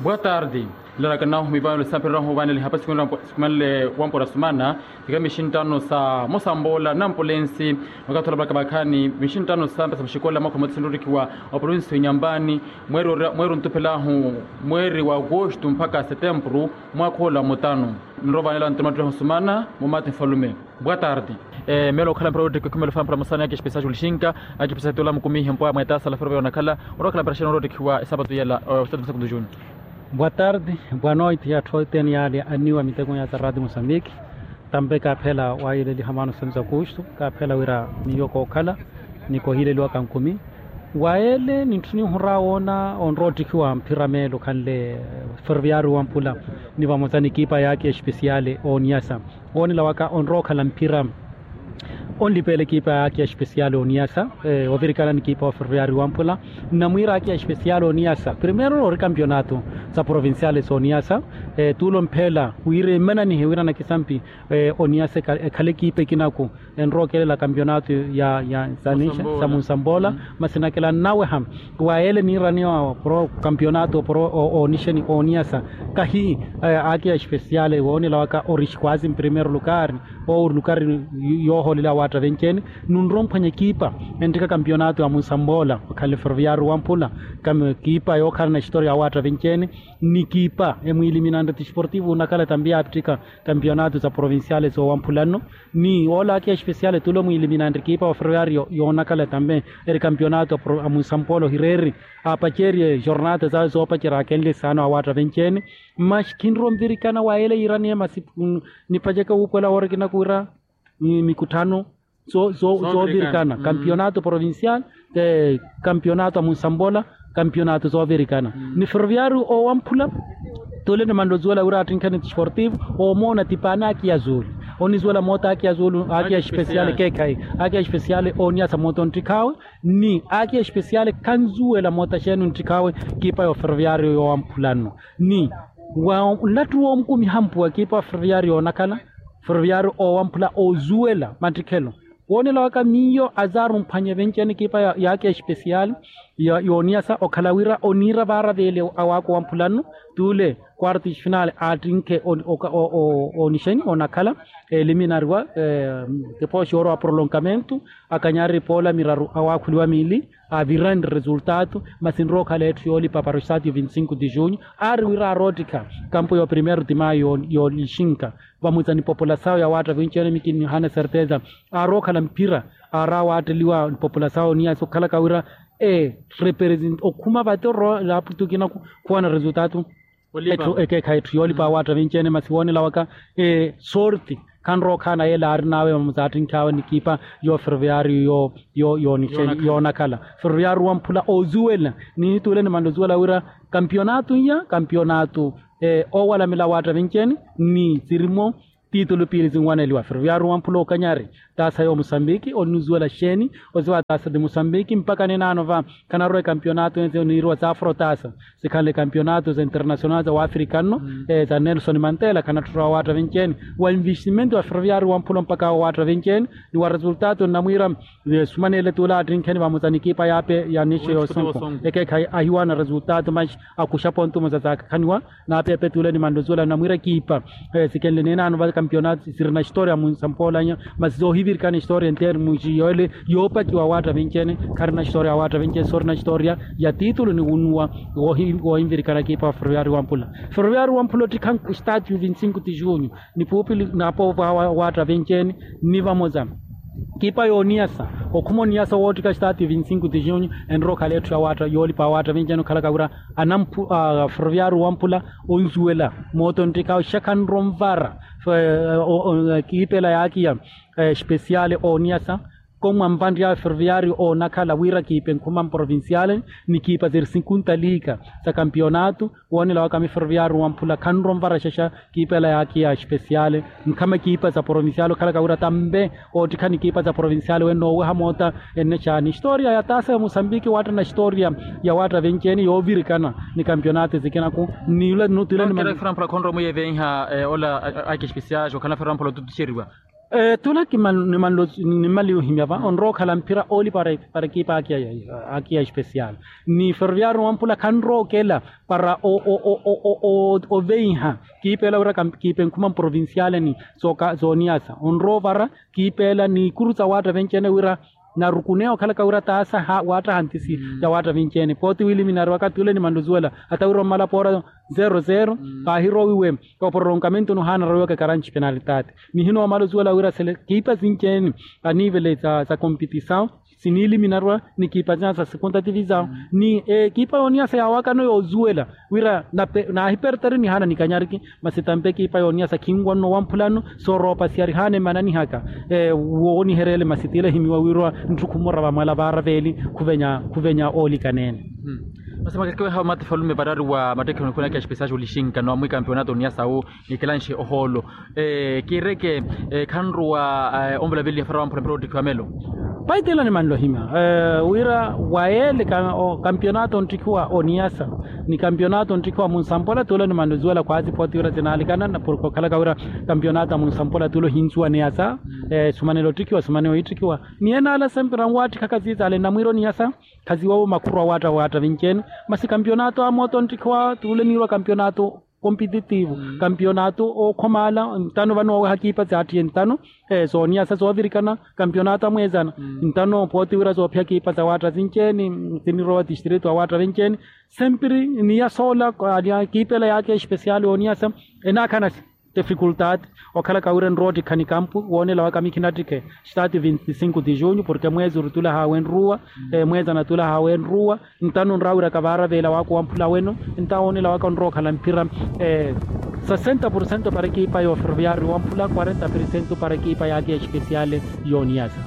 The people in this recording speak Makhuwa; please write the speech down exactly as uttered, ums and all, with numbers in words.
Boa tardi. Nlarakanahu mivaanelo sampirirahu vaanele hapasi sikhumele wampora sumana. Sikira mixinttano sa mosamboola na ampulensi. Makathi olapalaka vakhaani mixinttano sa mpesa muxikola mwaakha mutisi nrottikhiwa, oprovinsi wa inyampani, mweeri ontuphelahu mweeri wa agosto mpakha setempuru, mwaakha ola mutano. Nrovaanela ntoma ttireho sumana. Mumathi nfalume. Boa tardi. Meelo okhala mpira oottikhiwa khumela ofala mpira musana yaaki espesial julixinka. Aki espesial tula mukumihe mpwa mweetaasa la ferve yonakhala. Orookhala mpira xeeni oroottikhiwa esapatu yela. Ositatu musakuntu juni. Boa tardi. Boa noite ya atthu othene yaale anniwa miteko ya tarati musambiki. Tampe kaaphela waayileliha maano senthu sa kuustu kaaphela wira miyo kookhala ni kohileliwa kankumi. Waele nintthuni ohura woona onroottikhiwa mphira meelo khanle ferviario wa mpula ni vamosa ni kiipa yaaki espesiale ooniyasa. Woonela waka onrookhala mphira onlipeela ekiipa yaaki espesiale ooniyasa ovirikana ni kiipa wa ferviario wa mpula. Nnamwiira aki espesiale ooniyasa primeiro ori kampionato sa provinsiale sooniyasa. Tuulo mpheela wira emananihe wira nakisampi oniyasa ekhale ekiipa ekinaku enrookelela kampionato ya ya sa munsamboola. Masi nakela nnaweha waele niiraniwa oporo kampionato oporo oonixeni ooniyasa kahi aki espesiale woonela waka ori xikwazi mprimeiro lukari owo ori lukari yooholela awaatta venci-ene. Nunrowa omphwanya ekiipa enttika kampionato ya munsamboola okhanle ferviario wa mpula. Ekiipa yookhalana historia ya awaatta venci-ene ni ekiipa emwiiliminanre ti esportivo onakhala tambi yaapittika kampionato sa provinsiale soowamphula nno. Ni ola aki espesiale tulo mwiiliminanre ekiipa wa ferviario yoonakhala tambi eri kampionato a munsamboola ohireeri aapacerye jornata zawe zoopacerya aakenle saana awaatta venci-ene. Maxi khinrowa onvirikana waele yiiraniye masi nipaceke wuupuwela woorikina kuwira mikutthano zoovirikana kampionato provinsial kampionato a munsambola kampionato zoovirikana ni ferviario oowamphula. Tule nimanle ozuwela wira attinkheni ti esportivo oomoona ti paani aki ya zuulu onizuwela moota aki ya zuulu aki ya espesiale ekeekhayi aki ya espesiale ooniyasa moota onttikhawe ni aki espesiale khanzuwela moota xeeni onttikhawe. Kiipa yooferviario yoowamphula nno ni wa nlattu woomukumiha mpuwa kiipa wa ferviario yoonakhala ferviario oowamphula oozuwela mattikhelo woonela waka miyo azaari omphwanya evenci-ene kiipa yaaki ya espesiale yooniyasa okhala wira oniira vaara veele awaaka owamphula nno. Tule quarto de final aattinkhe oonixeni onakhala eliminariwa. Depois yoorowa prolongamento akanyari poola miraru awaakhuliwa miili aviranre resultado. Masi nrookhala etthu yoolipa para o estádio vinti cinco de junho aari wira aaroottikha kampo yo primeiro de maio yoolixinka vamuza ni populasawo ya waatta vinci-ene mikinihana certeza aarookhala mphira aari awaatteliwa ni populasawo oniyasa okhalaka wira ee represent okhuma vate oroola aputukina khuwana resultado. Etthu ekeekhayi etthu yoolipa awaatta vinci-ene masi woonela waka sorti khanrookhaana yeela aarin'awe vamuza attinkh'awe ni kiipa yooferviario yoonakhala ferviario wamphula oozuwela ni tuule nimanle ozuwela wira kampionato iya kampionato oowalamela awaatta vinci-ene ni sirimo titulu piili sinwaneliwa ferviario wamphula okanyari taasa yoomusambiki onizuwela xeeni oziwa taasa ti musambiki mpakha ninaano va khanarwa ekampionato eniiriwa za afrotasa sikhanle ekampionato za international za waafrika nno za nelson mantela khanatthurwa awaatta vinci-ene wa investimento wa ferviario wamphula mpakha awo awaatta vinci-ene ni wa resultado nnamwiira sumanele tuula attinkheni vamuza ni ekiipa yaape ya nixo yoosunku ekeekhayi ahiwaana resultado maxi akuxa pontu muza zaakakhaniwa naapeepe tuule nimanle ozuwela nnamwiira ekiipa sikenle ninaano va kampionato sirina historia munsampoolanya masi zoohivirikana historia enteeri muxi yoole yoopakiwa awaatta vinci-ene kharina historia awaatta vinci-ene soorina historia ya titulu ni wunuwa woohinvirikana ekiipa wa ferviario wamphula. Ferviario wamphula ottikha estádio vinti cinco de junho ni puupili na apoovo awa awaatta vinci-ene ni vamoza kiipa yooniyasa okhuma oniyasa woottikha estádio vinti cinco de junho enrookhala etthu yoolipa awaatta vinci-ene okhalaka wira anamphu ferviario wamphula onzuwela moota onttikhawe xakhanro onvara kiipela yaakiya espesiale ooniyasa. Komwa mvanryawe ferviario oonakhala wira kiipa enkhuma mprovinsiale ni kiipa ziri sinkunta liika za kampionato woonela waka mi ferviario wamphula khanro onvara xexa kiipela yaakiya espesiale nkhama kiipa za provinsiale okhalaka wira tambe oottikhani kiipa za provinsiale wenno oweha moota ennexa ni historia ya taasa ya musambiki waattana historia ya waatta vinci-ene yoovirikana ni kampionato ezikinaku ni yula nutile ni mani. Framphula khonrowa mwiyevenha ola aki espesiale okhalana framphula otutuxeriwa Tula kimanlo nimmaliya ohimya va onrowa okhala mphira ooli para ekipa akiya especial, ni ferroviario wampula khanrowa okela para oveiha kiipa ela wira kiipa enkhuma mprovinciale ni zooniyasa onrowa ovara kiipa ela ni ikuru sa waatta venci-ene wira narukuneya okhalaka wira taasa waattaha ntisi ya waatta vinci-ene pooti wiiliminariwaka tule nimanlo ozuwela, hata wira ommala poora zero zero paahirowiwe opororomkamento nuhaana arawiwaka karanci penalitati. Nihina omala ozuwela wira sele kiipa sinci-ene aniivele sa kompitisawu siniiliminariwa ni kiipa sinya sa segunda tivisawu ni ekiipa yooniyasa yaawakano yoozuwela wira naahipertari nihaana nikanyariki. Masi tampa ekipa yooniyasa khinwanno wamphulano sooroopasiya rihaana emananihaka wooniherya ele masi tila ehimiwa wiiriwa ntthu khumura vamwala vaara veeli khuvenya oolikaneene. Masi makekeweha omati falume varari wa mattekheho nikhunaka espesial olixinka no amwikampeonato oniyasa wu nikilanxe ohoolo kiireke khanruwa onvula veliha fara wamphula mpira oottikhiwa melo. Paitela nimanlohimya wira wa ele kampionato onttikhiwa oniyasa ni kampionato onttikhiwa munsampola tulo nimanlozuwela khwaasi pooti wira sinaalikana porke okhalaka wira kampionato a munsampola tulo hinsuwa niyasa esumanela ottikhiwa esumanela ohiittikhiwa. Ni enaala sempre anwaattikhaka siisale nnamwiira oniyasa khasiwawo makhuru awaatta awaatta vinci-ene. Masi kampionato a mooto onttikhiwa tulo eniirwa kampionato kompititivu kampionato ookhomaala ntano vano waweha kiipa saattiye ntano sooniyasa soovirikana kampionato amweezana ntano pooti wira soophiya kiipa sawaatta sinci-ene sinirowa tistrito awaatta vinci-ene. Sempiri niyasoola kiipa ela yaakhi espesiali yooniyasa enaakhana difikultaati okhalaka wira enrowa ottikha nikampu woonela waka mikhinattikhe staati vinti sinku ti junyu porke mweezi orutulahaawe enruwa mweezi anatulahaawe enruwa. Ntano onrawa wira kavaara veela waakhu wamphula weno nta woonela waka onrowa okhala mphira sesenta porcento para ekipa ya oferoviario wamphula kwarenta porcento para ekipa yaakhi espesiale yooniyasa.